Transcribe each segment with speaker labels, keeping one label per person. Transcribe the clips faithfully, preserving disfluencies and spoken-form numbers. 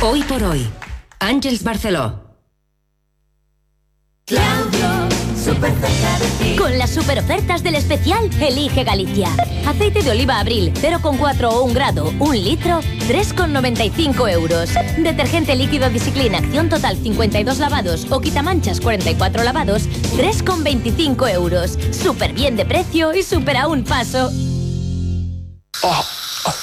Speaker 1: Hoy por hoy, Àngels Barceló.
Speaker 2: Claudio, súper cerca de ti.
Speaker 3: Con las super ofertas del especial Elige Galicia. Aceite de oliva Abril, cero coma cuatro o un grado, un litro, tres coma noventa y cinco euros. Detergente líquido Discipline Acción Total cincuenta y dos lavados o quitamanchas cuarenta y cuatro lavados, tres coma veinticinco euros. Súper bien de precio y súper a un paso.
Speaker 4: Oh, oh,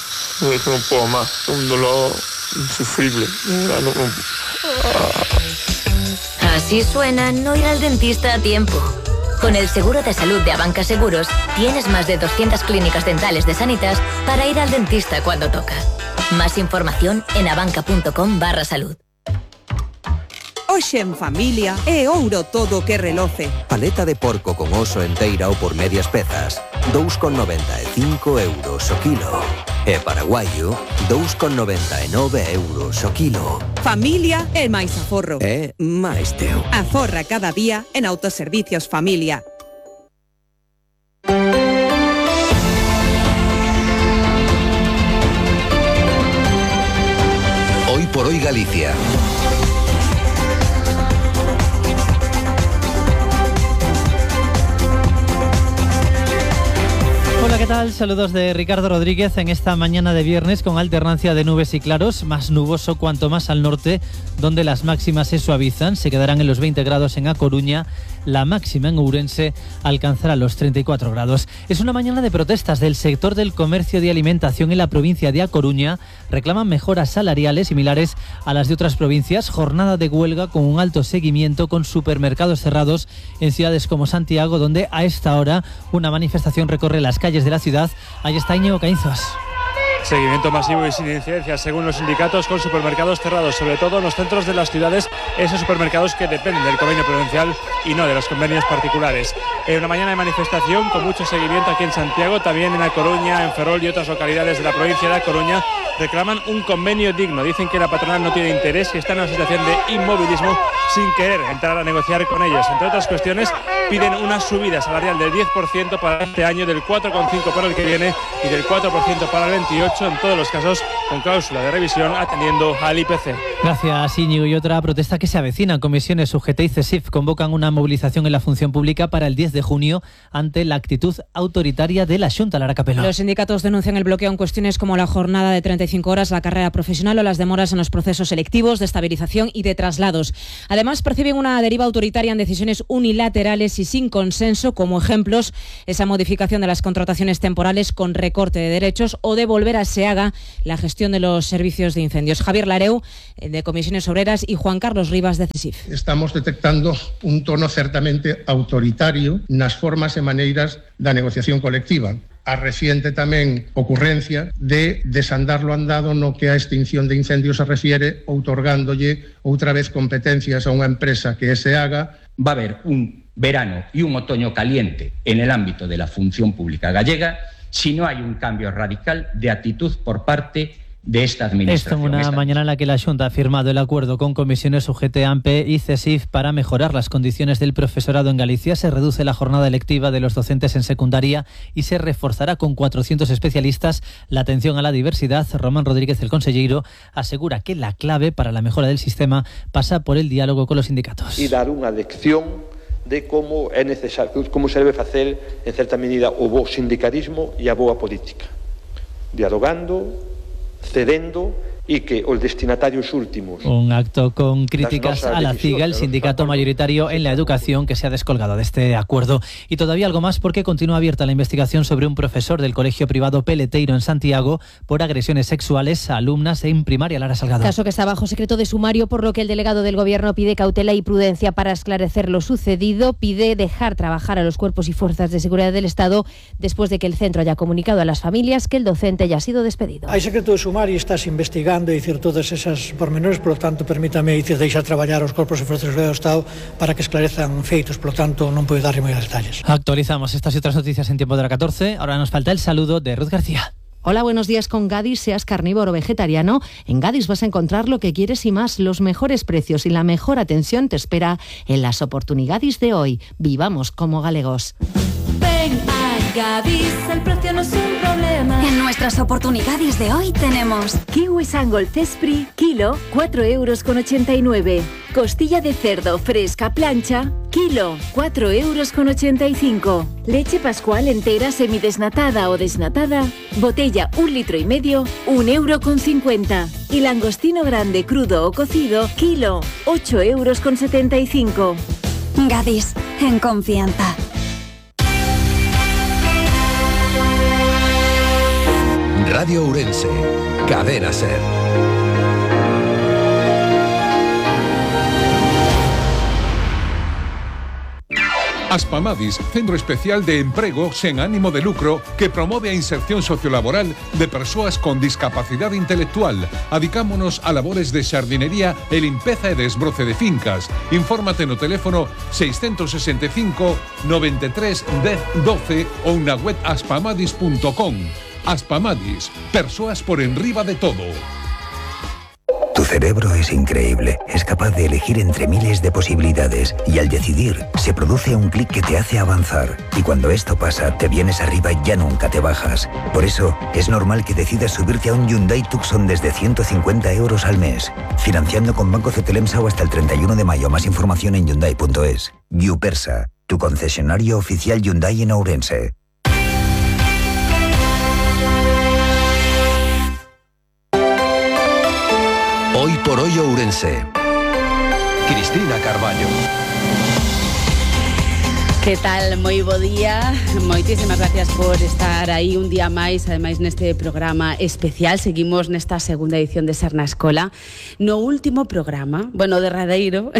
Speaker 4: no puedo más, un dolor insufrible. No, no, no.
Speaker 3: Así suena no ir al dentista a tiempo. Con el seguro de salud de Abanca Seguros, tienes más de doscientas clínicas dentales de Sanitas para ir al dentista cuando toca. Más información en abanca.com barra salud.
Speaker 5: Hoxe en familia é ouro todo que reloce.
Speaker 6: Paleta de porco con oso enteira ou por medias pezas, dous coma noventa e cinco euros o kilo. E paraguaio, dous coma noventa e nove euros o kilo.
Speaker 5: Familia é máis aforro.
Speaker 6: É máis teu.
Speaker 5: Aforra cada día en Autoservicios Familia.
Speaker 7: Hoy por hoy Galicia.
Speaker 8: Hola, ¿qué tal? Saludos de Ricardo Rodríguez en esta mañana de viernes con alternancia de nubes y claros, más nuboso cuanto más al norte, donde las máximas se suavizan, se quedarán en los veinte grados en A Coruña, la máxima en Ourense alcanzará los treinta y cuatro grados. Es una mañana de protestas del sector del comercio de alimentación en la provincia de A Coruña. Reclaman mejoras salariales similares a las de otras provincias, jornada de huelga con un alto seguimiento con supermercados cerrados en ciudades como Santiago, donde a esta hora una manifestación recorre las calles de la ciudad. Ahí está Íñigo Caínzos.
Speaker 9: Seguimiento masivo y sin incidencia, según los sindicatos, con supermercados cerrados, sobre todo en los centros de las ciudades, esos supermercados que dependen del convenio provincial y no de los convenios particulares. Eh, una mañana de manifestación con mucho seguimiento aquí en Santiago, también en A Coruña, en Ferrol y otras localidades de la provincia de A Coruña. Reclaman un convenio digno, dicen que la patronal no tiene interés, que está en una situación de inmovilismo sin querer entrar a negociar con ellos. Entre otras cuestiones, piden una subida salarial del diez por ciento para este año, del cuatro coma cinco por ciento para el que viene y del cuatro por ciento para el veintiocho, en todos los casos con cláusula de revisión atendiendo al I P C.
Speaker 8: Gracias, Íñigo. Y otra protesta que se avecina. Comisiones U G T y CESIF convocan una movilización en la función pública para el diez de junio ante la actitud autoritaria de la Xunta. Lara Capelo.
Speaker 10: Los sindicatos denuncian el bloqueo en cuestiones como la jornada de treinta y cinco horas, la carrera profesional o las demoras en los procesos selectivos, de estabilización y de traslados. Además, perciben una deriva autoritaria en decisiones unilaterales y sin consenso, como ejemplos esa modificación de las contrataciones temporales con recorte de derechos o de volver a SEAGA la gestión de los servicios de incendios. Javier Lareu, de Comisiones Obreras, y Juan Carlos Rivas, de CESIF.
Speaker 11: Estamos detectando un tono certamente autoritario nas formas e maneiras da negociación colectiva. A reciente tamén ocurrencia de desandar lo andado no que a extinción de incendios se refiere, outorgándolle outra vez competencias a unha empresa que é SEAGA.
Speaker 12: Va a haber un verano y un otoño caliente en el ámbito de la función pública gallega si no hay un cambio radical de actitud por parte de esta administración.
Speaker 8: Esto en una esta... mañana en la que la Xunta ha firmado el acuerdo con comisiones U G T, AMPE y CESIF para mejorar las condiciones del profesorado en Galicia. Se reduce la jornada lectiva de los docentes en secundaria y se reforzará con cuatrocientos especialistas la atención a la diversidad. Román Rodríguez, el consellero, asegura que la clave para la mejora del sistema pasa por el diálogo con los sindicatos.
Speaker 13: Y dar unha lección de como é necesario, como se debe facer en certa medida o bo sindicalismo e a boa política, dialogando, cedendo y que os destinatarios últimos.
Speaker 8: Un acto con críticas a la CIGA, el sindicato mayoritario en la educación, que se ha descolgado de este acuerdo. Y todavía algo más, porque continúa abierta la investigación sobre un profesor del colegio privado Peleteiro en Santiago por agresiones sexuales a alumnas en primaria. Lara Salgado.
Speaker 14: Caso que está bajo secreto de sumario, por lo que el delegado del Gobierno pide cautela y prudencia para esclarecer lo sucedido. Pide dejar trabajar a los cuerpos y fuerzas de seguridad del Estado después de que el centro haya comunicado a las familias que el docente ya ha sido despedido.
Speaker 15: Hay secreto de sumario y estás investigando e dicir todas esas pormenores, por lo tanto, permítame dicir deixar traballar os corpos e forzas do Estado para que esclarezan feitos, por lo tanto, non podo darlle moitos detalles.
Speaker 8: Actualizamos estas y otras noticias en tiempo de la catorce. Ahora nos falta el saludo de Ruth García.
Speaker 16: Hola, buenos días. Con Gadis, seas carnívoro o vegetariano, en Gadis vas a encontrar lo que quieres y más. Los mejores precios y la mejor atención te espera en las oportunidades de hoy. Vivamos como galegos.
Speaker 2: Ven a Gadis, el precio no es un problema.
Speaker 17: En nuestras oportunidades de hoy tenemos kiwi Sangol Cespri, kilo, cuatro euros con ochenta y nueve. Costilla de cerdo fresca plancha, kilo, cuatro euros con ochenta y cinco. Leche pascual entera semidesnatada o desnatada, botella un litro y medio, un euro con cincuenta. Y langostino grande crudo o cocido, kilo, ocho euros con setenta y cinco.
Speaker 18: Gadis, en confianza.
Speaker 7: Radio Ourense, Cadena Ser.
Speaker 19: Aspamadis, centro especial de emprego sen ánimo de lucro que promove a inserción sociolaboral de persoas con discapacidade intelectual. Adicámonos a labores de xardinería e limpeza e desbroce de fincas. Infórmate no teléfono seiscentos sesenta e cinco, noventa e tres, dez, doce ou na web aspamadis punto com. Aspamadis, persoas por enriba de todo.
Speaker 20: Tu cerebro es increíble, es capaz de elegir entre miles de posibilidades y al decidir se produce un clic que te hace avanzar y cuando esto pasa te vienes arriba y ya nunca te bajas. Por eso es normal que decidas subirte a un Hyundai Tucson desde ciento cincuenta euros al mes, financiando con Banco Cetelemsa o hasta el treinta y uno de mayo. Más información en hyundai punto es. Yupersa, tu concesionario oficial Hyundai en Ourense.
Speaker 7: Hoy por hoy Ourense. Cristina Carballo.
Speaker 21: Que tal? Moi bo día. Moitísimas gracias por estar aí un día máis, ademais neste programa especial. Seguimos nesta segunda edición de Ser na Escola. No último programa, bueno, derradeiro,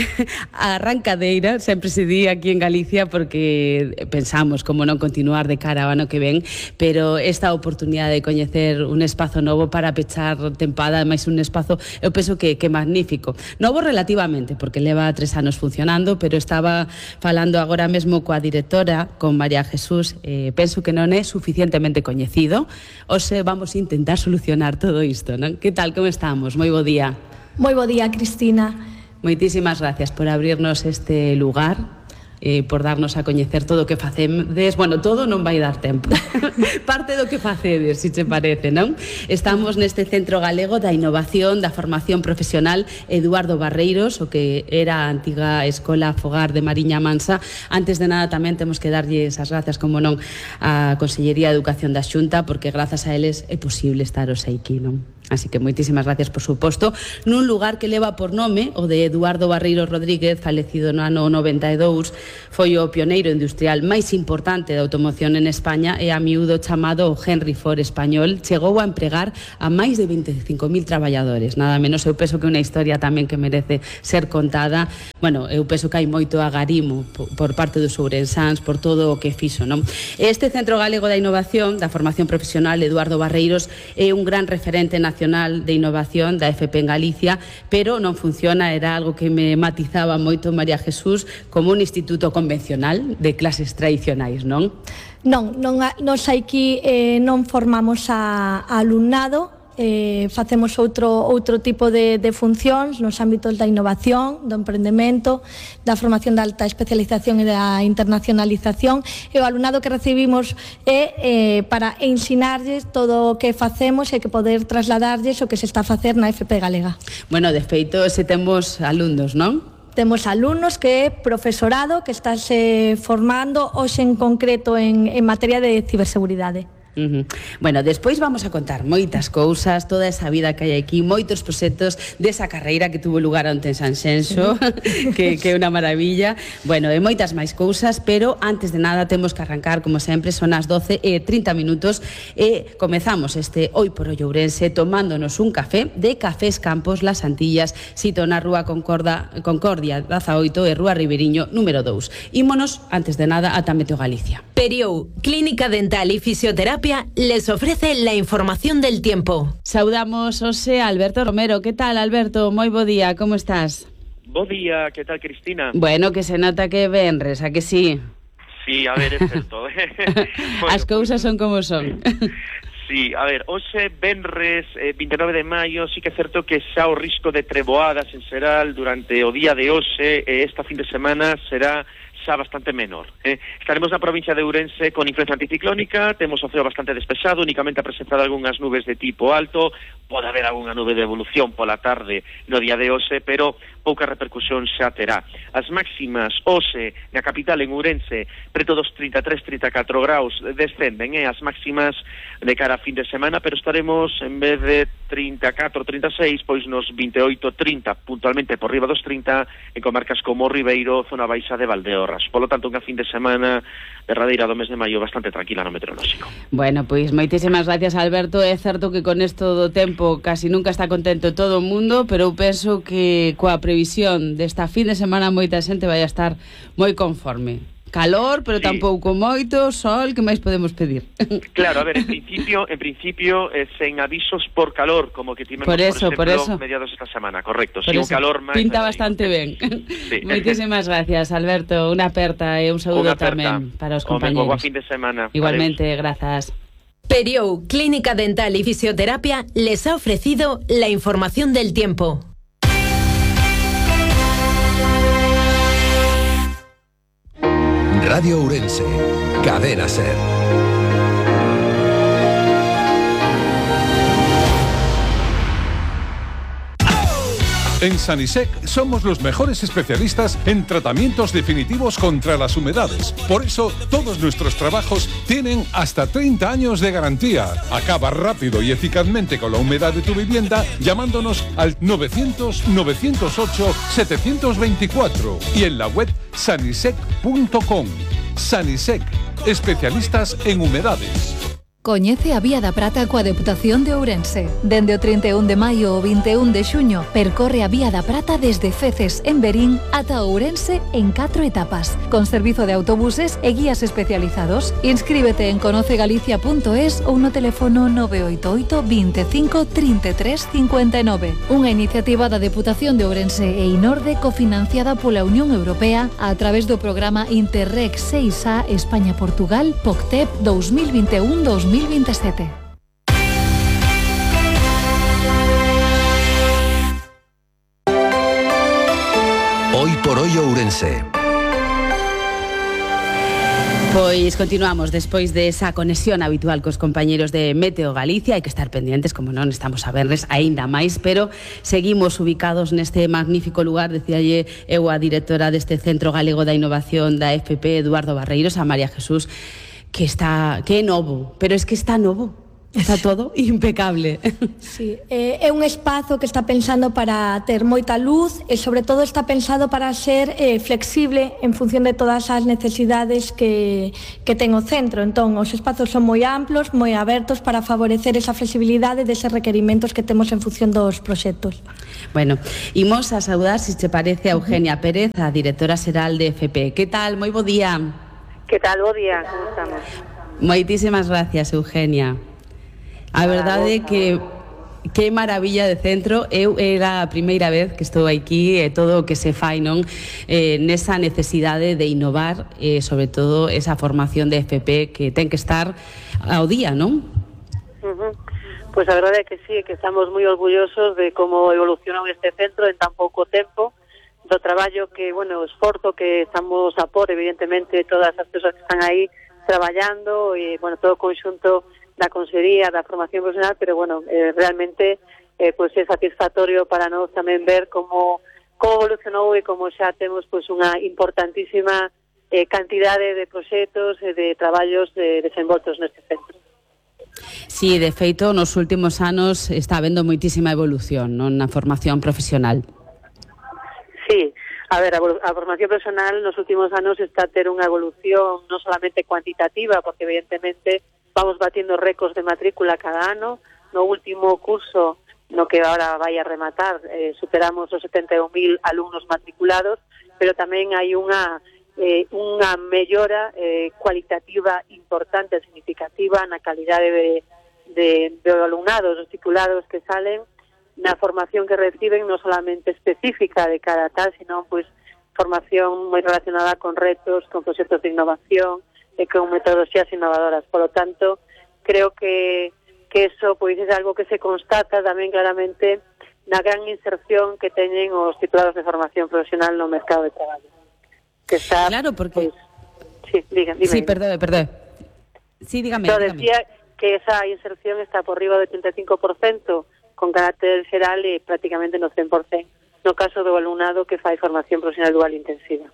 Speaker 21: a arrancadeira, sempre se di aquí en Galicia porque pensamos como non continuar de cara ao ano que ven, pero esta oportunidade de coñecer un espazo novo para pechar tempada, ademais un espazo, eu penso que, que magnífico. Novo relativamente, porque leva tres anos funcionando, pero estaba falando agora mesmo coa directora, con María Jesús, eh, penso que non é suficientemente coñecido. Hoxe vamos a intentar solucionar todo isto, non? Que tal, como estamos? Moi bo día.
Speaker 22: Moi bo día, Cristina.
Speaker 21: Moitísimas gracias por abrirnos este lugar, eh, por darnos a coñecer todo o que facedes. Bueno, todo non vai dar tempo. Parte do que facedes, se che parece, non? Estamos neste Centro Galego da Innovación, da Formación Profesional Eduardo Barreiros, o que era a antiga Escola Fogar de Mariña Mansa. Antes de nada tamén temos que darlles as grazas, como non, á Consellería de Educación da Xunta, porque grazas a eles é posible estar hoxe aquí, non? Así que moitísimas gracias, por suposto, nun lugar que leva por nome o de Eduardo Barreiros Rodríguez, falecido no ano noventa e dous, foi o pioneiro industrial máis importante da automoción en España e a miúdo chamado o Henry Ford español. Chegou a empregar a máis de veinticinco mil traballadores, nada menos. Eu penso que é unha historia tamén que merece ser contada. Bueno, eu penso que hai moito agarimo por parte dos ourensáns por todo o que fixo, non? Este Centro Galego da Innovación, da Formación Profesional Eduardo Barreiros, é un gran referente nacional de Innovación da F P en Galicia, pero non funciona, era algo que me matizaba moito María Jesús, como un instituto convencional de clases tradicionais, non?
Speaker 22: Non, non nos aquí eh, non formamos a, a alumnado, eh, facemos outro, outro tipo de, de funcións nos ámbitos da innovación, do emprendemento, da formación de alta especialización e da internacionalización, e o alumnado que recibimos é eh, para ensinarlles todo o que facemos e que poder trasladarlles o que se está a facer na F P galega.
Speaker 21: Bueno, de feito, se temos alumnos, non?
Speaker 22: Temos alumnos que é profesorado que está se formando hoxe en concreto en, en materia de ciberseguridade.
Speaker 21: Uh-huh. Bueno, despois vamos a contar moitas cousas, toda esa vida que hai aquí, moitos proxectos desa carreira que tuvo lugar onte en Sanxenxo, que, que é unha maravilla. Bueno, e moitas máis cousas, pero antes de nada temos que arrancar, como sempre, son as doce e trinta minutos e comezamos este Hoy por Hoy Ourense tomándonos un café de Cafés Campos Las Antillas, sito na Rúa Concorda, Concordia dezaoito e Rúa Riberiño número dous. Ímonos, antes de nada, ata Meteo Galicia.
Speaker 23: Periou, Clínica Dental y Fisioterapia les ofrece la información del tiempo.
Speaker 21: Saudamos hoxe a Alberto Romero. Que tal, Alberto? Moi bo día, como estás?
Speaker 24: Bo día, que tal, Cristina?
Speaker 21: Bueno, que se nota que venres, a que sí?
Speaker 24: Sí, a ver, é certo.
Speaker 21: Bueno, as cousas son como son.
Speaker 24: Sí, a ver, hoxe venres eh, vinte e nove de maio, sí que é certo que xa o risco de treboadas en xeral durante o día de hoxe e esta fin de semana será xa bastante menor. Eh? Estaremos na provincia de Ourense con influencia anticiclónica, temos o ceo bastante despexado, únicamente a presentar algunhas nubes de tipo alto, pode haber algunha nube de evolución pola tarde no día de hoxe, pero pouca repercusión xa terá. As máximas hoxe na capital en Ourense preto dos trinta e tres a trinta e catro graus descenden, eh? As máximas de cara a fin de semana, pero estaremos en vez de trinta e catro, trinta e seis, pois nos vinte e oito, trinta, puntualmente por riba dos trinta en comarcas como Ribeiro, zona baixa de Valdeorras. Polo tanto, unha fin de semana derradeira do mes de maio bastante tranquila no meteorolóxico.
Speaker 21: Bueno, pois moitísimas gracias, Alberto. É certo que con isto do tempo casi nunca está contento todo o mundo, pero eu penso que coa previsión desta fin de semana moita xente vai a estar moi conforme. Calor, pero sí. Tampouco moito, sol, que máis podemos pedir?
Speaker 24: Claro, a ver, en principio, en principio eh, sen avisos por calor, como que tivemos,
Speaker 21: por, eso,
Speaker 24: por exemplo,
Speaker 21: por eso.
Speaker 24: mediados esta semana, correcto.
Speaker 21: Por
Speaker 24: si
Speaker 21: eso.
Speaker 24: un calor máis...
Speaker 21: Pinta bastante ben. Sí. Moitísimas gracias, Alberto. Unha aperta e un saúdo tamén para os compañeros.
Speaker 24: Boa fin de semana.
Speaker 21: Igualmente, grazas.
Speaker 23: Periou Clínica Dental y Fisioterapia les ha ofrecido la información del tiempo.
Speaker 7: Radio Ourense, Cadena Ser.
Speaker 19: En Sanisec somos los mejores especialistas en tratamientos definitivos contra las humedades. Por eso, todos nuestros trabajos tienen hasta treinta años de garantía. Acaba rápido y eficazmente con la humedad de tu vivienda llamándonos al novecientos, novecientos ocho, setecientos veinticuatro y en la web sanisec punto com. Sanisec, especialistas en humedades.
Speaker 1: Coñece a Vía da Prata coa Deputación de Ourense. Dende o trinta e un de maio ao vinte e un de xuño, percorre a Vía da Prata desde Feces, en Verín, ata Ourense en catro etapas, con servizo de autobuses e guías especializados. Inscríbete en conocegalicia punto es ou no teléfono nove oito oito, veinticinco, treinta e tres, cincuenta e nove. Unha iniciativa da Deputación de Ourense e Inorde cofinanciada pola Unión Europea a través do programa Interreg seis A España-Portugal P O C T E P dos mil vinte e un a dos mil veintisiete.
Speaker 7: Hoy por hoy Ourense.
Speaker 21: Pois continuamos despois de esa conexión habitual cos compañeros de Meteo Galicia. Hai que estar pendientes, como non, estamos a verles aínda máis, pero seguimos ubicados neste magnífico lugar. Decíalle eu a directora deste Centro Galego da Innovación da F P, Eduardo Barreiros, a María Jesús, que está que é novo, pero es que está novo. Está todo impecable.
Speaker 22: Sí, é, é un espazo que está pensando para ter moita luz e sobre todo está pensado para ser eh, flexible en función de todas as necesidades que, que ten o centro. Entón, os espazos son moi amplos, moi abertos para favorecer esa flexibilidade deses requerimentos que temos en función dos proxectos.
Speaker 21: Bueno, imos a saudar, se te parece, a Eugenia Pérez, a directora xeral de F P. Que tal? Moi bo día.
Speaker 3: Que tal? Bo día, como estamos?
Speaker 21: Moitísimas gracias, Eugenia. A verdade é que que maravilla de centro. Eu era a primeira vez que estou aquí e todo o que se fai, non, eh, nesa necesidade de innovar e eh, sobre todo esa formación de F P que ten que estar ao día, non?
Speaker 3: Uh-huh. Pois a verdade é que sí, que estamos moi orgullosos de como evolucionou este centro en tan pouco tempo, do traballo que, bueno, o esforzo que estamos a por, evidentemente, todas as persoas que están aí traballando e, bueno, todo o conxunto da Consellería da Formación Profesional, pero, bueno, eh, realmente eh, pues é satisfactorio para nós tamén ver como, como evolucionou e como xa temos pues, unha importantísima eh, cantidade de proxectos e de traballos de desenvoltos neste centro.
Speaker 21: Sí, de feito, nos últimos anos está habendo moitísima evolución, non, na formación profesional.
Speaker 3: Sí, a ver, a, a formación profesional nos últimos anos está a ter unha evolución non solamente cuantitativa, porque evidentemente vamos batiendo récords de matrícula cada ano. No último curso, no que ahora vai a rematar, eh, superamos os setenta e un mil alumnos matriculados, pero tamén hai unha eh, unha mellora eh, cualitativa importante, significativa na calidade de, de, de alumnados, os titulados que salen, na formación que reciben, non solamente específica de cada tal, sino pues, formación moi relacionada con retos, con proxectos de innovación, e con metodoloxías innovadoras. Por lo tanto, creo que, que eso pois, é algo que se constata tamén claramente na gran inserción que teñen os titulados de formación profesional no mercado de traballo. que está...
Speaker 21: Claro, porque...
Speaker 3: Pues, sí, diga, dime.
Speaker 21: Sí, perdón, perdón. Sí, dígame.
Speaker 3: Pero
Speaker 21: dígame.
Speaker 3: decía que esa inserción está por riba do ochenta e cinco por cento con carácter xeral e prácticamente no cen por cento no caso do alumnado que fai formación profesional dual intensiva.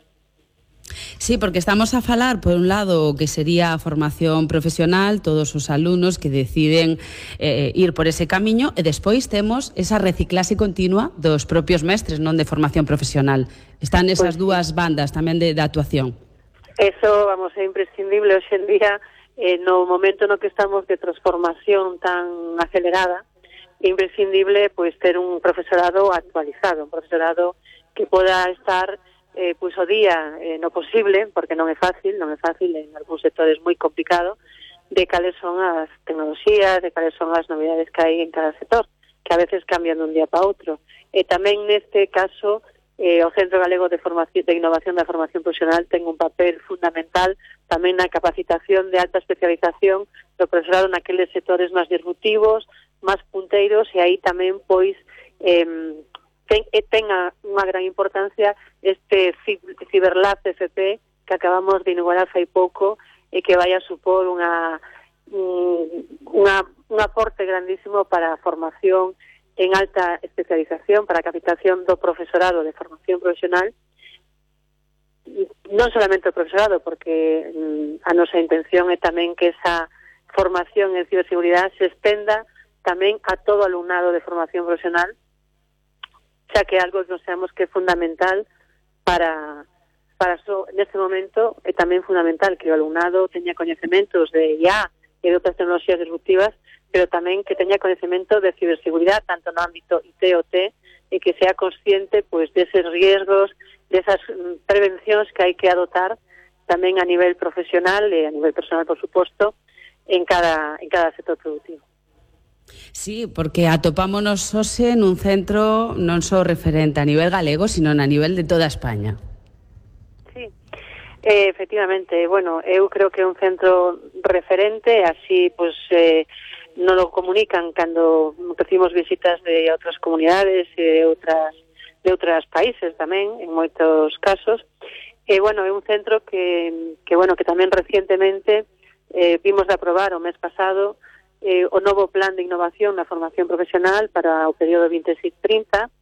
Speaker 21: Sí, porque estamos a falar, por un lado, que sería a formación profesional, todos os alumnos que deciden eh, ir por ese camiño, e despois temos esa reciclaxe continua dos propios mestres, non de formación profesional. Están esas pues, dúas bandas tamén de, de actuación.
Speaker 3: Eso, vamos, é imprescindible hoxe en día, eh, no momento no que estamos de transformación tan acelerada, é imprescindible pois ter un profesorado actualizado, un profesorado que poda estar eh, pois o día eh, no posible, porque non é fácil, non é fácil, en algúns sectores moi complicado, de cales son as tecnoloxías, de cales son as novidades que hai en cada sector, que a veces cambian dun día para outro. E tamén neste caso, eh, o Centro Galego de Formación de Innovación da Formación Profesional ten un papel fundamental tamén na capacitación de alta especialización do profesorado naqueles sectores máis disruptivos, máis punteiros, e aí tamén, pois, eh, ten, tenga unha gran importancia este Ciberlab C F P que acabamos de inaugurar fai pouco e que vai a supor unha, unha, un aporte grandísimo para a formación en alta especialización, para a capacitación do profesorado de formación profesional, non solamente o profesorado, porque a nosa intención é tamén que esa formación en ciberseguridade se estenda tamén a todo alumnado de formación profesional, xa que algo que nos sabemos que é fundamental para, para so, neste momento é tamén fundamental que o alumnado teña coñecementos de I A e de outras tecnoloxías disruptivas, pero tamén que teña coñecemento de ciberseguridade, tanto no ámbito I T o T, e que sea consciente pois deses riesgos, desas prevencións que hai que adotar tamén a nivel profesional e a nivel personal, por suposto, en cada, en cada sector productivo.
Speaker 21: Sí, porque atopámonos hoxe nun centro non só referente a nivel galego, sino a nivel de toda España.
Speaker 3: Sí, eh, efectivamente, bueno, eu creo que é un centro referente, así, pues, eh, non lo comunican cando recibimos visitas de outras comunidades e de outras de outros países tamén, en moitos casos. E, bueno, é un centro que, que bueno, que tamén recientemente eh, vimos de aprobar o mes pasado eh, o novo plan de innovación na formación profesional para o período veintiséis trinta,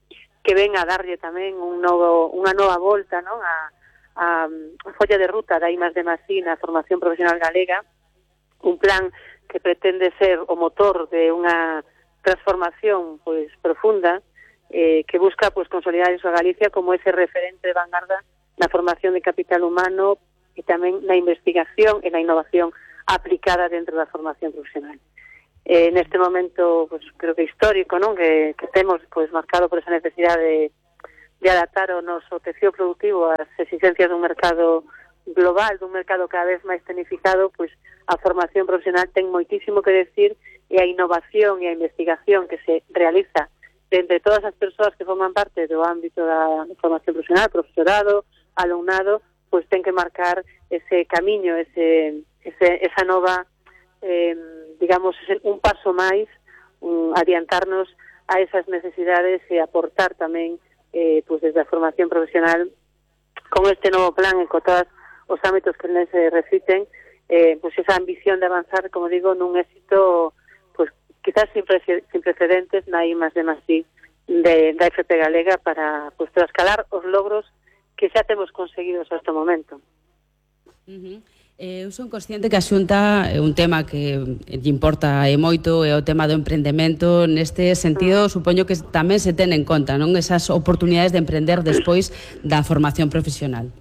Speaker 3: que ven a darlle tamén un novo, unha nova volta, non, a, a, a folla de ruta da I más D más I na formación profesional galega, un plan que pretende ser o motor de unha transformación pois profunda, eh, que busca pois consolidar a Galicia como ese referente de vanguarda na formación de capital humano e tamén na investigación e na innovación aplicada dentro da formación profesional. Eh, neste momento, pues, creo que histórico, non, que, que temos pois marcado por esa necesidade de, de adaptar o noso tecido productivo ás exigencias dun mercado global, dun mercado cada vez máis tecnificado, pois a formación profesional ten moitísimo que decir, e a innovación e a investigación que se realiza entre todas as persoas que forman parte do ámbito da formación profesional, profesorado, alumnado, pois ten que marcar ese camiño, ese, ese esa nova, eh, digamos, un paso máis, um, adiantarnos a esas necesidades e aportar tamén, eh, pois desde a formación profesional, con este novo plan e con todos os ámbitos que les se refiten, eh, pues esa ambición de avanzar, como digo, nun éxito pues quizás sin, pre sin precedentes na I más D más I de, da F P Galega para pues trascalar os logros que xa temos conseguidos hasta o momento.
Speaker 21: Uh-huh. Eh, eu son consciente que a Xunta é un tema que lle importa e moito, é o tema do emprendemento. Neste sentido, uh-huh. supoño que tamén se ten en conta, non, esas oportunidades de emprender despois da formación profesional.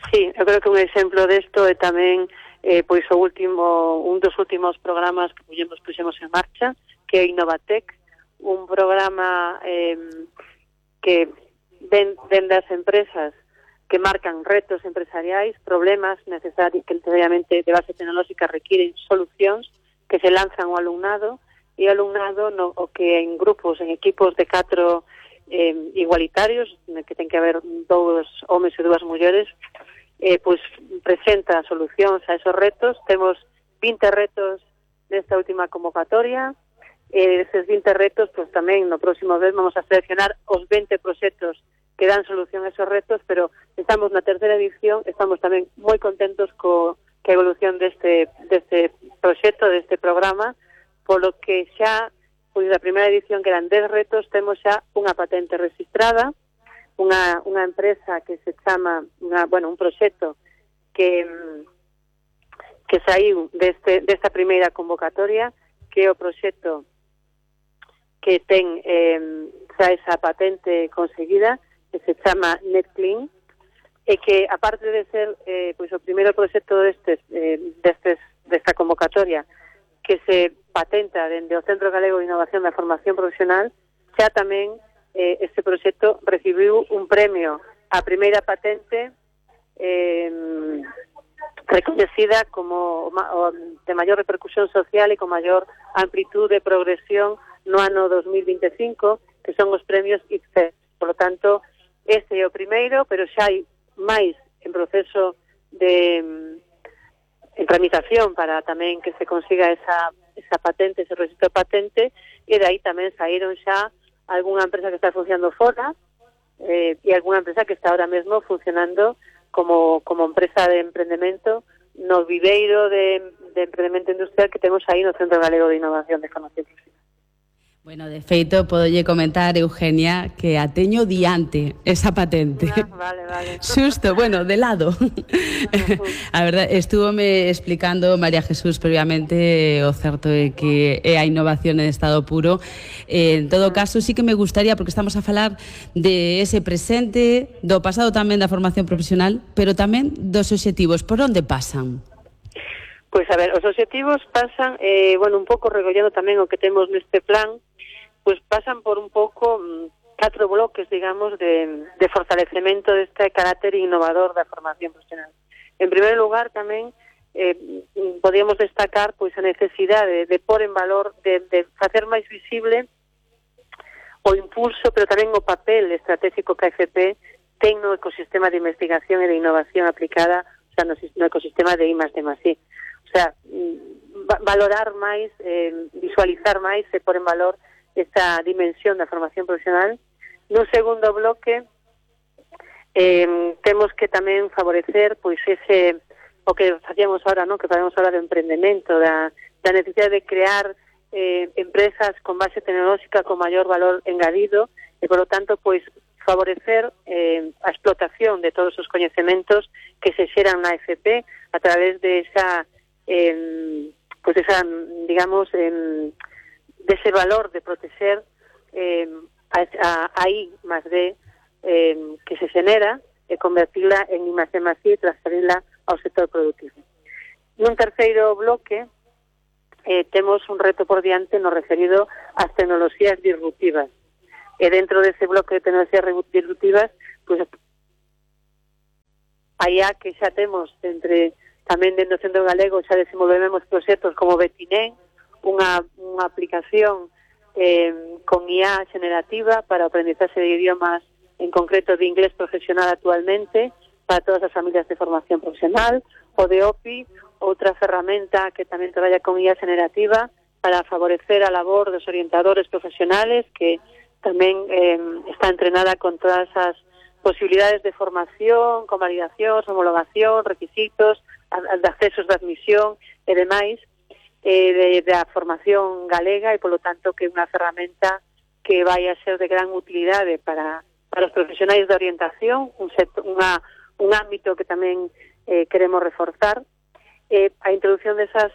Speaker 3: Sí, eu creo que un exemplo desto é tamén eh, pois o último, un dos últimos programas que puxemos, puxemos en marcha, que é Innovatec, un programa eh, que ven, ven das empresas que marcan retos empresariais, problemas necesarios que necesariamente de base tecnolóxica requiren solucións que se lanzan ao alumnado, e o alumnado no, o que en grupos, en equipos de catro eh, igualitarios, que ten que haber dous homes e dúas mulleres, eh, pois presenta solucións a esos retos. Temos vinte retos nesta última convocatoria, e eses vinte retos, pois tamén no próximo mes vamos a seleccionar os vinte proxectos que dan solución a esos retos, pero estamos na terceira edición, estamos tamén moi contentos co que a evolución deste, deste proxecto, deste programa, polo que xa, pois da primeira edición que eran dez retos, temos xa unha patente registrada, unha, unha empresa que se chama, unha, bueno, un proxecto que que saiu deste, desta primeira convocatoria, que é o proxecto que ten eh, xa esa patente conseguida, que se chama NetClean, e que, aparte de ser eh, pois o primeiro proxecto destes, eh, destes, desta convocatoria, que se patenta dende o Centro Galego de Innovación da Formación Profesional, xa tamén eh, este proxecto recibiu un premio a primeira patente eh, recoñecida como o, de maior repercusión social e con maior amplitude de progresión no ano dos mil veinticinco, que son os premios I C E. Por lo tanto, este é o primeiro, pero xa hai máis en proceso de en tramitación para tamén que se consiga esa, esa patente, ese registro de patente, e de aí tamén saíron xa algunha empresa que está funcionando fora eh, e algunha empresa que está ahora mesmo funcionando como, como empresa de emprendemento no viveiro de, de emprendemento industrial que temos aí no Centro Galego de Innovación de Formación Profesional.
Speaker 21: Bueno, de feito, podolle comentar, Eugenia, que a teño diante esa patente.
Speaker 3: Ah, vale, vale.
Speaker 21: Xusto, bueno, de lado. Uh-huh. A verdade, estúvome explicando María Jesús previamente o certo é que é a innovación en estado puro. Eh, en todo caso, sí que me gustaría, porque estamos a falar de ese presente, do pasado tamén da formación profesional, pero tamén dos obxectivos. Por onde pasan?
Speaker 3: Pois, a ver, os obxectivos pasan, eh, bueno, un pouco recollendo tamén o que temos neste plan, pois pasan por un pouco catro bloques, digamos, de, de fortalecemento deste carácter innovador da formación profesional. En primeiro lugar, tamén, eh, podíamos destacar pois a necesidade de pôr en valor, de, de facer máis visible o impulso, pero tamén o papel estratégico que a F P ten no ecosistema de investigación e de innovación aplicada, o sea, no, no ecosistema de I más D más I. O sea, valorar máis, eh, visualizar máis e pôr en valor esta dimensión da formación profesional. Nun segundo bloque, eh, temos que tamén favorecer pois ese, o que facíamos ahora, ¿no? Que facemos ahora de emprendemento, da, da necesidade de crear eh, empresas con base tecnolóxica con maior valor engadido e, por lo tanto, pois favorecer eh, a explotación de todos os coñecementos que se xeran na F P a través de esa, eh, pois esa, digamos, eh, dese valor de proteger eh, a, a I más D eh, que se xenera e convertirla en I más D más I e transferirla ao sector productivo. Nun terceiro bloque eh, temos un reto por diante no referido ás tecnoloxías disruptivas. E dentro dese bloque de tecnoloxías disruptivas, pues, allá que xa temos entre tamén dentro do Centro Galego xa desenvolvemos proxectos como Betinén, unha, unha aplicación eh, con I A generativa para o aprendizaxe de idiomas, en concreto de inglés profesional actualmente, para todas as familias de formación profesional, o de O P I, outra ferramenta que tamén traballa con I A generativa para favorecer a labor dos orientadores profesionales, que tamén eh, está entrenada con todas as posibilidades de formación, convalidación, homologación, requisitos, de accesos de admisión e demais, eh, de, de a formación galega e, polo tanto, que é unha ferramenta que vai a ser de gran utilidade para, para os profesionais de orientación, un, sector, unha, un ámbito que tamén eh, queremos reforzar. Eh, a introducción desas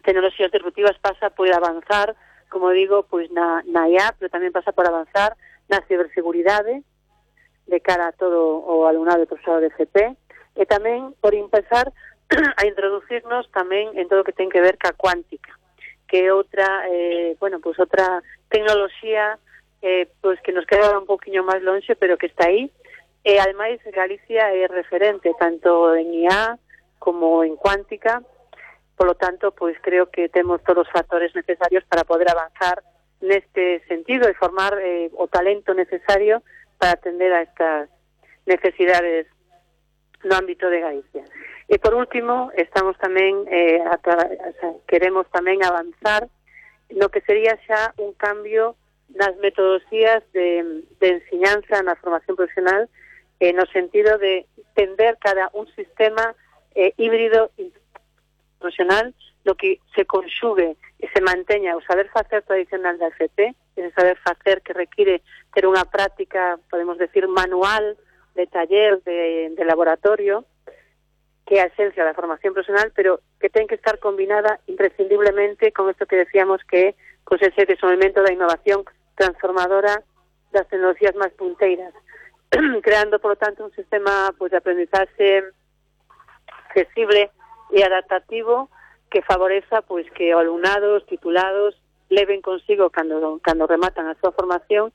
Speaker 3: tecnoloxías disruptivas pasa por avanzar, como digo, pois na, na I A, pero tamén pasa por avanzar na ciberseguridade de cara a todo o alumnado e profesorado de F P, e tamén por empezar a introducirnos tamén en todo o que ten que ver ca cuántica, que é outra, eh, bueno, pois outra tecnoloxía eh, pois que nos queda un poquinho máis lonxe, pero que está aí. E ademais Galicia é referente tanto en I A como en cuántica. Por lo tanto, pois creo que temos todos os factores necesarios para poder avanzar neste sentido e formar eh, o talento necesario para atender a estas necesidades no ámbito de Galicia. E por último, estamos tamén eh, a, o sea, queremos tamén avanzar no que sería xa un cambio nas metodoloxías de, de enseñanza na formación profesional eh, no sentido de tender cada un sistema eh, híbrido profesional, lo que se conxugue e se manteña o saber facer tradicional da F P, ese saber facer que require ter unha práctica, podemos decir, manual, de taller, de, de laboratorio, que é a esencia da formación profesional, pero que ten que estar combinada imprescindiblemente con isto que decíamos que é con ese desenvolvemento da innovación transformadora das tecnologías máis punteiras, creando, por lo tanto, un sistema pues, de aprendizaje accesible e adaptativo que favoreza pois que o alumnado, os titulados, leven consigo cando cando rematan a súa formación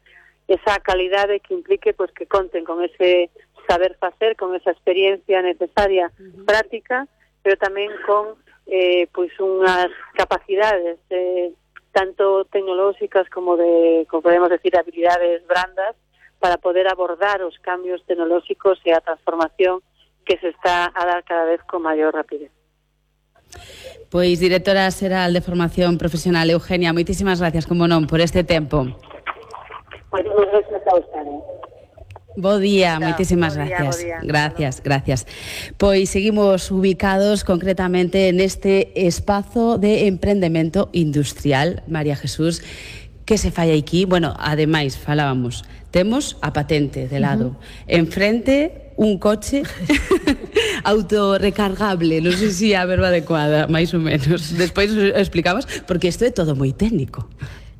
Speaker 3: esa calidade que implique pois que conten con ese saber facer, con esa experiencia necesaria, uh-huh. práctica, pero tamén con eh, pois unhas capacidades eh, tanto tecnolóxicas como de, como podemos decir, habilidades brandas para poder abordar os cambios tecnolóxicos e a transformación que se está a dar cada vez con maior rapidez.
Speaker 21: Pois, directora xeral de Formación Profesional, Eugenia, moitísimas gracias, como non, por este tempo.
Speaker 3: Moitísimas gracias a ustedes.
Speaker 21: Bo día,
Speaker 3: Chao.
Speaker 21: moitísimas
Speaker 3: Bo día,
Speaker 21: gracias.
Speaker 3: bo día.
Speaker 21: Gracias, gracias. Pois seguimos ubicados concretamente neste espazo de emprendemento industrial, María Jesús, que se fai aquí. Bueno, ademais, falábamos, temos a patente de lado. Uh-huh. Enfrente, un coche autorrecargable, non sei se é a verba adecuada, máis ou menos. Despois explicamos, porque isto é todo moi técnico.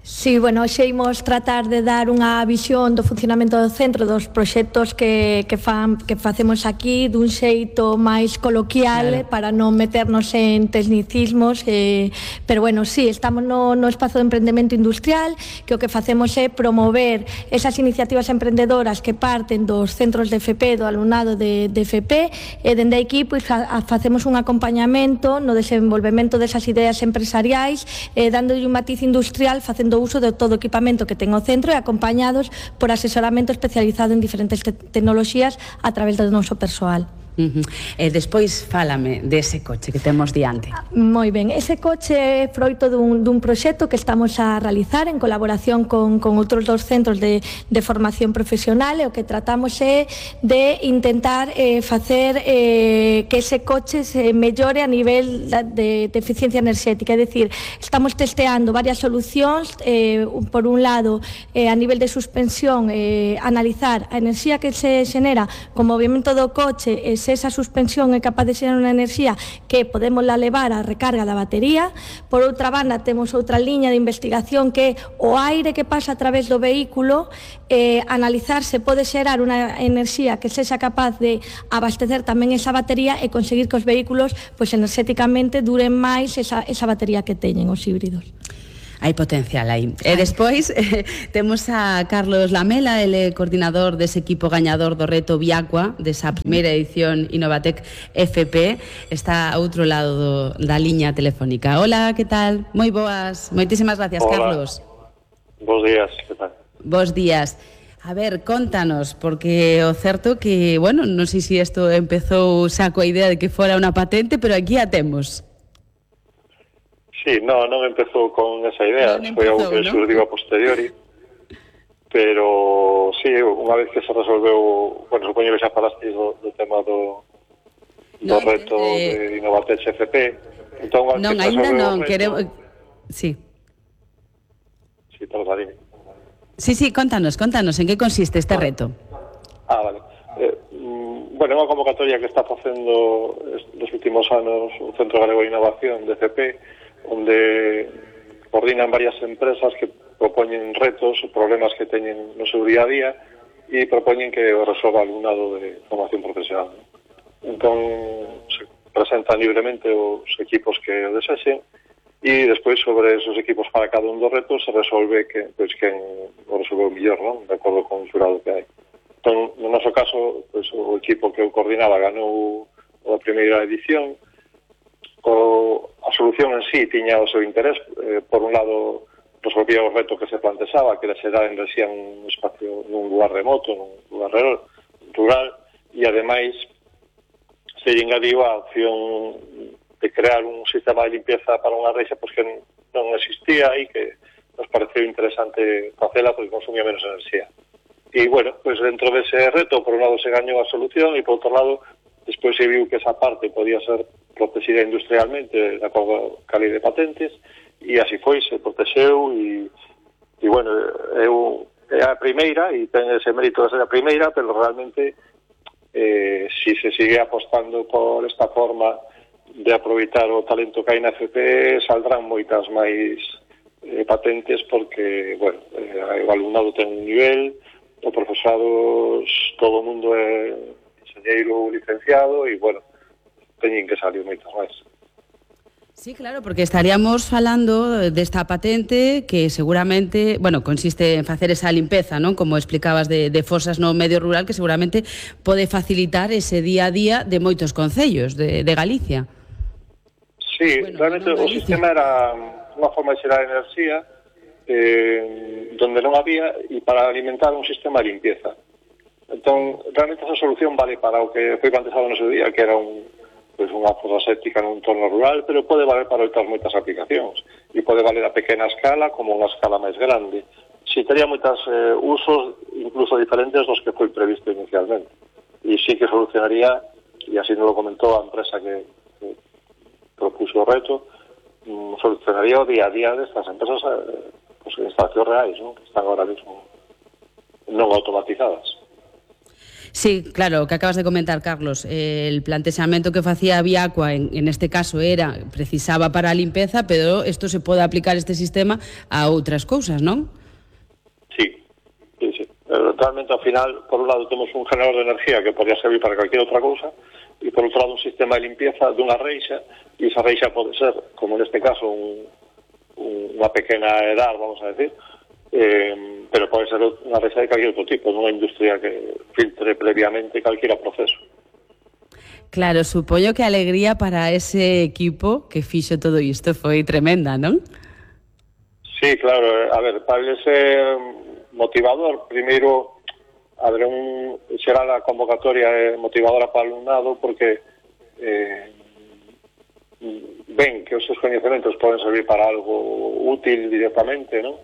Speaker 22: Sí, bueno, hoxe imos tratar de dar unha visión do funcionamento do centro, dos proxectos que, que, fan, que facemos aquí dun xeito máis coloquial, claro, para non meternos en tecnicismos, eh, pero bueno, sí, estamos no, no espazo de emprendemento industrial, que o que facemos é promover esas iniciativas emprendedoras que parten dos centros de F P, do alumnado de, de F P, e dende aquí pois, fa, facemos un acompañamento no desenvolvemento desas ideas empresariais, eh, dándolle un matiz industrial, facendo uso de todo o equipamento que ten o centro e acompañados por asesoramento especializado en diferentes te tecnoloxías a través do noso persoal.
Speaker 21: Uh-huh. E despois fálame dese coche que temos diante.
Speaker 22: Moi ben, ese coche é froito dun, dun proxecto que estamos a realizar en colaboración con, con outros dos centros de, de formación profesional, e o que tratamos é de intentar eh, facer eh, que ese coche se mellore a nivel de, de eficiencia enerxética, é dicir, estamos testeando varias solucións, eh, por un lado, eh, a nivel de suspensión, eh, analizar a enerxía que se xenera con movimento do coche, e se esa suspensión é capaz de ser unha enerxía que podemos la levar á recarga da batería. Por outra banda, temos outra liña de investigación que é o aire que pasa a través do vehículo, eh, analizar se pode xerar unha enerxía que sexa capaz de abastecer tamén esa batería e conseguir que os vehículos pois, enerxéticamente duren máis esa, esa batería que teñen os híbridos.
Speaker 21: Hai potencial aí. E despois eh, temos a Carlos Lamela, ele coordinador dese equipo gañador do reto Viacua, desa primeira edición Innovatec F P, está a outro lado do, da liña telefónica. Hola, que tal? Moi boas. Moitísimas gracias, hola, Carlos.
Speaker 4: Bos días, que tal?
Speaker 21: Bos días. A ver, contanos, porque o certo que, bueno, non sei se isto empezou xa coa idea de que fora unha patente, pero aquí a temos.
Speaker 4: Sí, no, non empezou con esa idea, no, foi algo que ¿no? surdiu a posteriori, pero sí, unha vez que se resolveu, bueno, supoño que xa falasteis do, do tema do, do no, reto eh, de Innovatec F P, entón,
Speaker 21: non, ainda non, queremos... Sí.
Speaker 4: Sí, perdón, dime.
Speaker 21: Sí, sí, contanos, contanos, en que consiste este reto?
Speaker 4: Ah, vale. Eh, bueno, é unha convocatoria que está facendo nos últimos anos o Centro Galego de Innovación de F P, onde coordinan varias empresas que propoñen retos ou problemas que teñen no seu día a día e propoñen que o resolva alumnado de formación profesional. Entón, se presentan libremente os equipos que o desexen e despois sobre esos equipos para cada un dos retos se resolve que, pois, quen o resolveu mellor, non? De acordo con o xurado que hai. Entón, no noso caso, pois, o equipo que o coordinaba ganou a primeira edición. O, a solución en sí tiña o seu interés, eh, por un lado resolvía o reto que se plantexaba, que era xerar enerxía nun espacio, nun lugar remoto, nun lugar rural, e ademais se engadiu a opción de crear un sistema de limpieza para unha reixa pois que non existía e que nos pareceu interesante facela porque consumía menos enerxía. E, bueno, pues dentro dese reto, por un lado se gañou a solución e, por outro lado, despois se viu que esa parte podía ser protegida industrialmente de acordo ca lei de patentes, e así foi, se protexeu e, e bueno, eu, é a primeira e ten ese mérito de ser a primeira, pero realmente eh, si se sigue apostando por esta forma de aproveitar o talento que hai na F P, saldrán moitas máis eh, patentes porque, bueno, eh, o alumnado ten un nivel, o profesorado, todo o mundo é enxeñeiro licenciado e, bueno, teñen que salir moitas máis.
Speaker 21: Sí, claro, porque estaríamos falando desta patente que seguramente, bueno, consiste en facer esa limpeza, non? Como explicabas, de, de fosas no medio rural, que seguramente pode facilitar ese día a día de moitos concellos de, de Galicia.
Speaker 4: Sí, bueno, realmente o sistema era unha forma de xerar enerxía eh, donde non había e para alimentar un sistema de limpieza. Entón, realmente esa solución vale para o que foi planteado no seu día, que era un, pues, unha fosa séptica nun entorno rural, pero pode valer para outras moitas aplicacións e pode valer a pequena escala como unha escala máis grande. Si tería moitas eh, usos incluso diferentes dos que foi previsto inicialmente e sí que solucionaría, e así nos lo comentou a empresa que, que propuso o reto, mm, solucionaría o día a día destas empresas eh, pues, en instalacións reais, ¿no? Que están ahora mismo non automatizadas.
Speaker 21: Sí, claro, o que acabas de comentar, Carlos, eh, el plantexamento que facía Viacua en, en este caso era, precisaba para a limpeza, pero isto se pode aplicar este sistema a outras cousas, non?
Speaker 4: Sí, sí, sí. Realmente, ao final, por un lado, temos un generador de energía que podría servir para cualquier outra cousa, e por outro lado, un sistema de limpieza dunha reixa, e esa reixa pode ser, como neste caso, un, un, unha pequena edad, vamos a decir, Eh, pero pode ser unha reixa de calquer outro tipo, nunha industria que filtre previamente calquera proceso.
Speaker 21: Claro, supoño que a alegría para ese equipo que fixo todo isto foi tremenda, non?
Speaker 4: Sí, claro, a ver, para ese motivador, primeiro haber un será a convocatoria motivadora para o alumnado porque eh, ven que os seus coñecementos poden servir para algo útil directamente, non?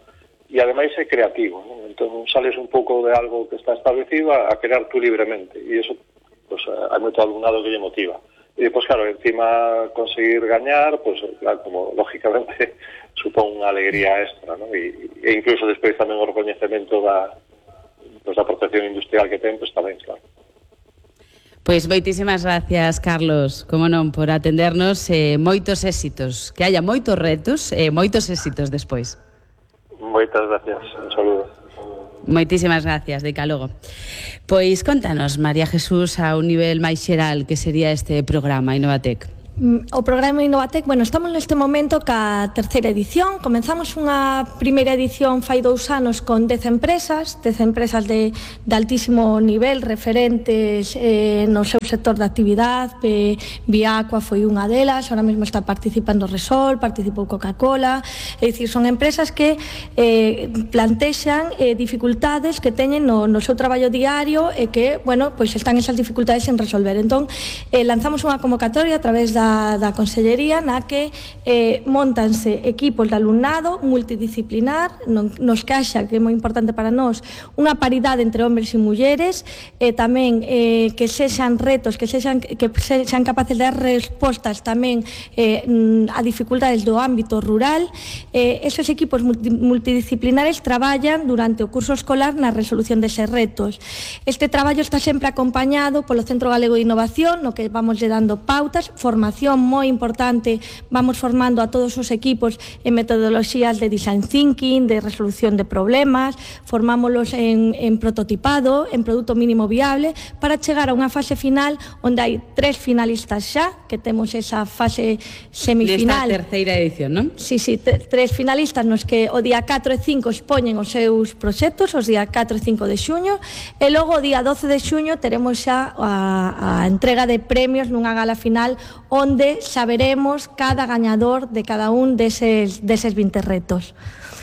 Speaker 4: E ademais é creativo, ¿no? Entón sales un pouco de algo que está establecido a, a crear tú libremente e iso, pues, hai moito alumnado que lle motiva e depois, claro, encima conseguir gañar, pues, claro, como lógicamente supón unha alegría extra, ¿no? E, e incluso despois tamén o recoñecemento da, pues, da protección industrial que ten, pues tamén, claro.
Speaker 21: Pois moitísimas gracias, Carlos, como non, por atendernos, eh, moitos éxitos, que haya moitos retos e eh, moitos éxitos despois.
Speaker 4: Moitas gracias, un saludo.
Speaker 21: Moitísimas gracias, de logo. Pois contanos, María Jesús, a un nivel máis xeral que sería este programa Innovatec.
Speaker 22: O programa Innovatec, bueno, estamos neste momento ca terceira edición. Comenzamos unha primeira edición fai dous anos con dez empresas, dez empresas de, de altísimo nivel, referentes eh, no seu sector de actividade. eh, Viacua foi unha delas, ahora mesmo está participando Resol, participou Coca-Cola, é dicir, son empresas que eh, plantexan eh, dificultades que teñen no, no seu traballo diario e que, bueno, pois están esas dificultades en resolver. Entón, eh, lanzamos unha convocatoria a través da Da, da Consellería na que eh, montanse equipos de alumnado multidisciplinar, non, nos caixa, que é moi importante para nós, unha paridade entre hombres e mulleres, e eh, tamén eh, que sexan retos, que sexan, que sexan capaces de dar respostas tamén eh, a dificultades do ámbito rural. Eh, esos equipos multi, multidisciplinares traballan durante o curso escolar na resolución deses retos. Este traballo está sempre acompañado polo Centro Galego de Innovación, no que vamos lle dando pautas, formación moi importante, vamos formando a todos os equipos en metodoloxías de design thinking, de resolución de problemas, formámoslos en, en prototipado, en produto mínimo viable, para chegar a unha fase final onde hai tres finalistas xa, que temos esa fase semifinal.
Speaker 21: Nesta terceira edición, non?
Speaker 22: Sí, sí, tres finalistas nos que o día catro e cinco expoñen os seus proxectos, os día catro e cinco de xuño, e logo o día doce de xuño teremos xa a, a entrega de premios nunha gala final onde saberemos cada gañador de cada un deses, deses vinte retos.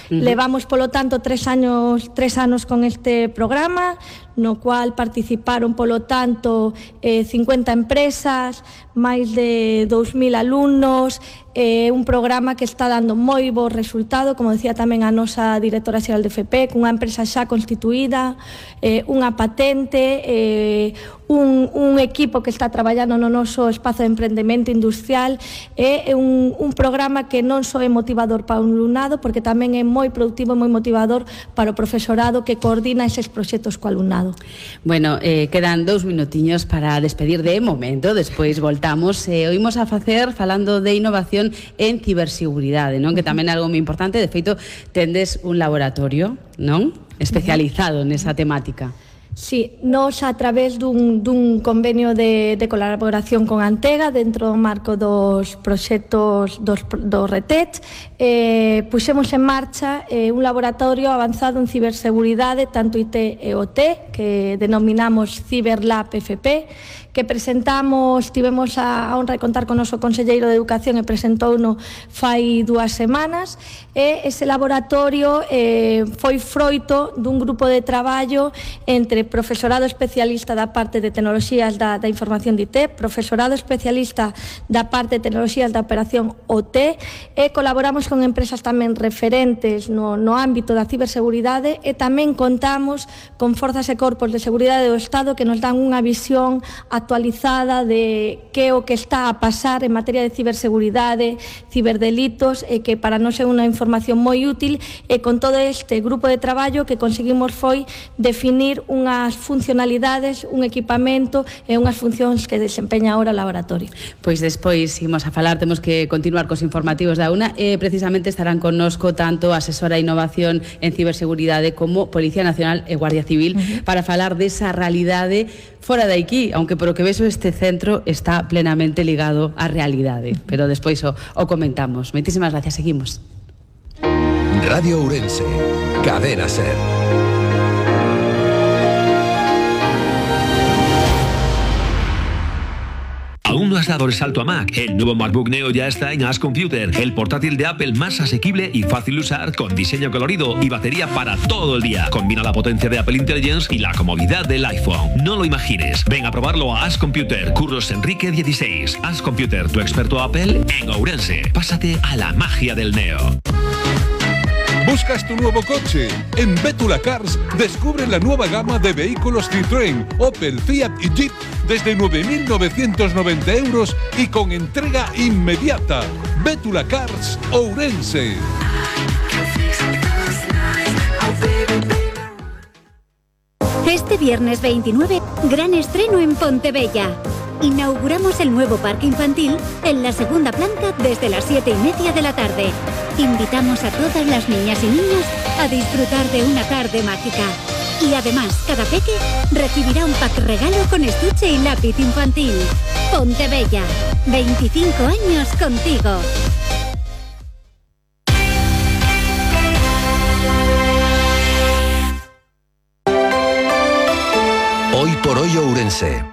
Speaker 22: Uh-huh. Levamos, polo tanto, tres años, tres anos con este programa, no cual participaron, polo tanto, eh, cincuenta empresas, máis de dous mil alumnos, é un programa que está dando moi bo resultado, como decía tamén a nosa directora xeral de F P, cunha empresa xa constituída, eh, unha patente, eh, un, un equipo que está traballando no noso espazo de emprendemento industrial. É un, un programa que non só é motivador para un alumnado, porque tamén é moi productivo e moi motivador para o profesorado que coordina eses proxectos co alumnado.
Speaker 21: Bueno, eh, quedan dous minutiños para despedir de momento, despois voltamos. Eh, oímos a facer falando de innovación en ciberseguridade, non? Que tamén é algo moi importante. De feito, tendes un laboratorio, non? Especializado nesa temática.
Speaker 22: Sí, nos a través dun, dun convenio de, de colaboración con Antega dentro do marco dos proxectos dos, dos RETET, eh, puxemos en marcha eh, un laboratorio avanzado en ciberseguridade, tanto I T e O T, que denominamos CiberLab F P, que presentamos, tivemos a honra de contar con o noso conselleiro de Educación e presentouno fai dúas semanas, e ese laboratorio eh, foi froito dun grupo de traballo entre profesorado especialista da parte de tecnoloxías da, da información de I T, profesorado especialista da parte de tecnoloxías da operación O T, e colaboramos con empresas tamén referentes no, no ámbito da ciberseguridade, e tamén contamos con forzas e corpos de seguridade do Estado que nos dan unha visión actualizada de que o que está a pasar en materia de ciberseguridade, ciberdelitos, e que para nós é unha información moi útil, e con todo este grupo de traballo que conseguimos foi definir unhas funcionalidades, un equipamento e unhas funcións que desempeña ahora o laboratorio.
Speaker 21: Pois despois imos a falar, temos que continuar cos informativos da UNA, e precisamente estarán connosco tanto a asesora de innovación en ciberseguridade como Policía Nacional e Guardia Civil, uh-huh, para falar desa realidade fora de aquí, aunque por o que vexo este centro está plenamente ligado á realidade, pero despois o, o comentamos. Moitísimas gracias, seguimos.
Speaker 7: Radio Ourense, Cadena SER.
Speaker 5: ¿Aún no has dado el salto a Mac? El nuevo MacBook Neo ya está en As Computer, el portátil de Apple más asequible y fácil de usar, con diseño colorido y batería para todo el día. Combina la potencia de Apple Intelligence y la comodidad del iPhone. No lo imagines. Ven a probarlo a As Computer, Curros Enrique dieciséis. As Computer, tu experto Apple en Ourense. Pásate a la magia del Neo.
Speaker 19: ¿Buscas tu nuevo coche? En Bétula Cars descubre la nueva gama de vehículos Citroën, Opel, Fiat y Jeep desde nueve mil novecientos noventa euros y con entrega inmediata. Bétula Cars, Ourense.
Speaker 6: Este viernes veintinueve, gran estreno en Pontebella. Inauguramos el nuevo parque infantil en la segunda planta desde las siete y media de la tarde. Invitamos a todas las niñas y niños a disfrutar de una tarde mágica. Y además, cada peque recibirá un pack regalo con estuche y lápiz infantil. Pontebella, veinticinco años contigo.
Speaker 7: Hoy por hoy Ourense.